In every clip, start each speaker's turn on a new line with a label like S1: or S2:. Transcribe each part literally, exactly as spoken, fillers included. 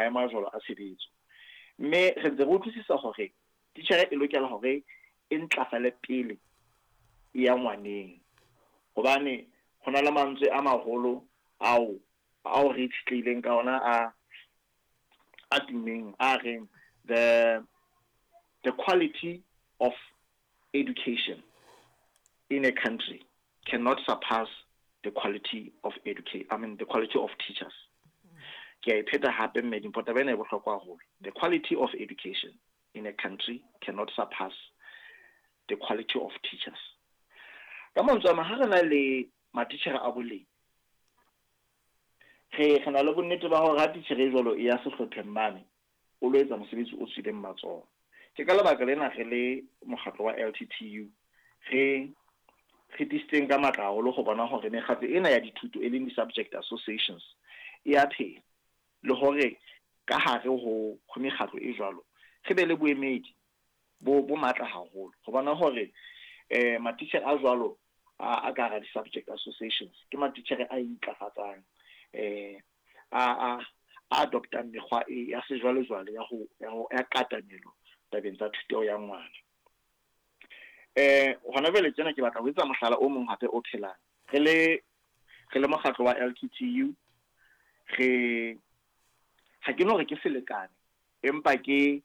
S1: maemo a jwalo a tshebetso. Mme re ntse re utlwisisa hore titjhere e lokela hore e ntlafale pele e ya ngwaneng. Hobane ho na le mantswe a maholo ao ao re itshetlehileng ka ona a a tummeng a reng the the quality of education in a country cannot surpass the quality of educate I mean the quality of teachers. Ke a e pheta hape mme Dimpho, taba ena e bohlokwa haholo. The quality of education in a country cannot surpass the quality of teachers. Ka mantswe a mang, ha re na le matitjhere a boleng, re re na le bonnete ba hore ha titjhere e jwalo e ya sehlopheng mane, o lo etsa mosebetsi o tswileng matsoho. Ke ka lebaka lena re le mokgatlo wa L T T U re re tiisitseng ka matla haholo ho bona hore mekgatlo ena ya dithuto e leng di-subject associations e a phela, le hore ka hare ho, ho mekgatlo e jwalo re be le boemedi bo, bo matla haholo ho bona hore eh matitjhere a jwalo a, a ka hara di-subject associations ke matitjhere a intlafatsang, eh a, a, a adoptang mekgwa e ya sejwalejwale ya ho, ya ho, ya katamelo tabeng tsa thuto ya ngwana. Eh hona jwale tjena ke batla ho etsa mohlala o mong hape o phelang. Re le, re le mokgatlo wa L T T U, re ha ke no re ke selekane, empa ke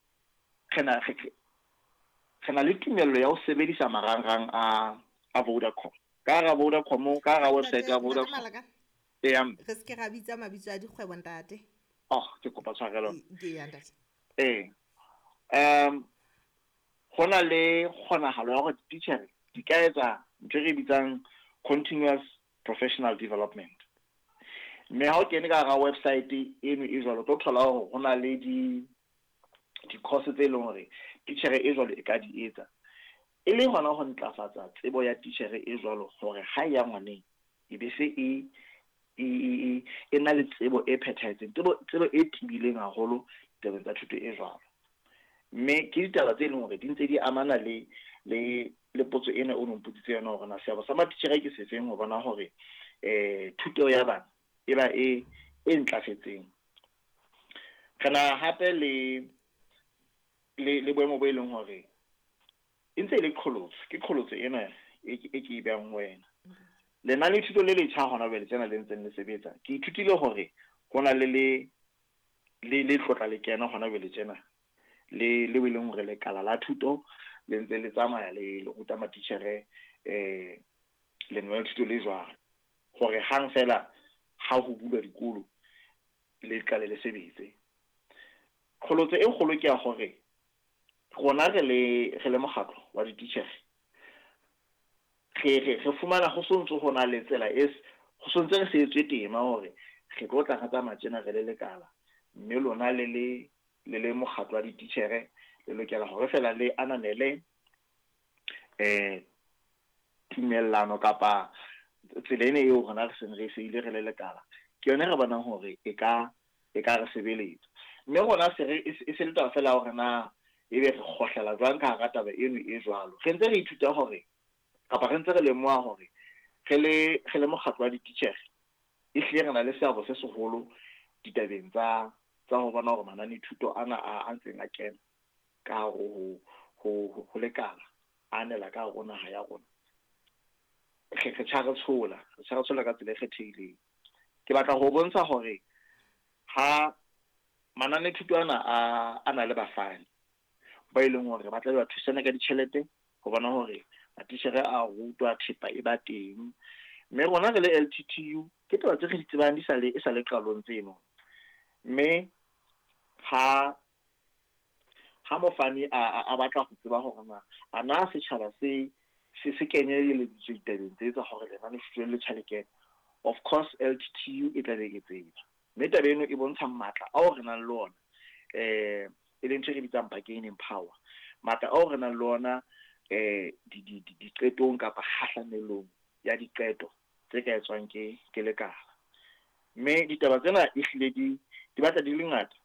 S1: re na, re, re na le tumello ya ho sebedisa marangrang a, a Vodacom. Ka hara Vodacom, ka hara website ya
S2: Ntate,
S1: Vodacom.
S2: Ntate Malaka,
S1: Ee, ya mme.
S2: re se ke ra bitsa mabitso a dikgwebo, ntate.
S1: Oh, ke kopa tshwarelo.
S2: Ke, ke ya, ntate.
S1: Ee. Um, ho na le kgonahalo ya hore dititjhere di ka etsa ntho e re bitsang continuous professional development. Mme ha o kene ka hara website eno e jwalo, o tlo thola hore ho na le di, di-course tse leng hore titjhere e jwalo e ka di etsa. E le hona ho ntlafatsa tsebo ya titjhere e jwalo hore ha e ya ngwaneng e be se e, e, e, e, e na le tsebo e phethahetseng, tsebo, tsebo e tibileng haholo tabeng tsa thuto e jwalo. Mme ke ditaba tse leng hore di ntse di amana le, le, le potso ena o no mpotsitse yona hore na seabo sa matitjhere ke sefeng ho bona hore, eh, thuto ya bana e ba e, e ntlafetseng. Re na hape le, le, le boemo bo e leng hore e ntse e le qholotso, ke qholotso ena e ke, e ke e behang ho wena. Lenane la thuto le letjha hona jwale tsena le ntseng le sebetsa, ke ithutile hore ho na le le, le, le tlotla le kena hona jwale tjena, le, le e leng hore lekala la thuto le ntse le tsamaya le, le ruta matitjhere, eh, lenane la thuto le jwalo, hore hang fela ha ho bulwa dikolo le qale le sebetse. Qholotso e kgolo ke ya hore rona re le, re le mokgatlo wa dititjhere, re, re, re fumana ho sontso ho na le tsela e s-, ho sontse re se etswe tema hore re tlo tla re tsamaya tjena re le lekala, mme lona le le, le le mokgatlo wa dititjhere le lokela hore fela le ananele, eh, tumellano kapa tsela ena eo rona re seng re e seile re le lekala. Ke yona re bonang hore e ka, e ka re sebeletsa. Mme rona se re, e se, e se le taba fela hore na ebe re kgohlela jwang ka hara taba eno e jwalo. Re ntse re ithuta hore, kapa re ntse re lemoha hore re le, re le mokgatlo wa dititjhere, ehlile re na le seabo se seholo ditabeng tsa, tsa ho bona hore mananethuto ana a, a ntseng a kena ka hare ho, ho, ho, ho lekala, a anela ka hare ho naha ya rona. Re, re tjha re tshola, re tjha re tshola ka tsela e kgethehileng. Ke batla ho bontsha hore ha mananethuto ana a, a na le bafani ba e leng hore ba tla ba thusana ka ditjhelete ho bona hore matitjhere a rutwa, thepa e ba teng. Mme rona re le L T T U ke taba tse re di tsebang di sa le, e sa le qalong tseno. Mme ha, ha mofani a, a, a batla ho tseba hore na a na setjhaba se, se, se kenyeleditswe ditabeng tse tsa hore lenane le le tjha le kene, of course L T T U e tla be e tseba. Mme taba eno e bontsha matla ao re nang le ona, eh, e leng ntho e re bitsang bargaining power. Matla ao re nang le ona, eh, di, di, di, diqetong kapa kgahlamelong ya diqeto tse ka etswang ke, ke lekala. Mme ditaba tsena ehlile di, di batla di le ngata.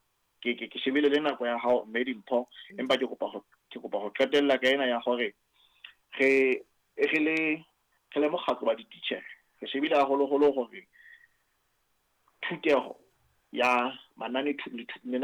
S1: Ke, ke, ke shebile le nako ya hao, mme Dimpho, empa ke kopa ho, ke kopa ho qetella ka ena ya hore re, re le, re le mokgatlo wa dititjhere, re shebile haholoholo hore thuteho ya manane thu-, le thu-,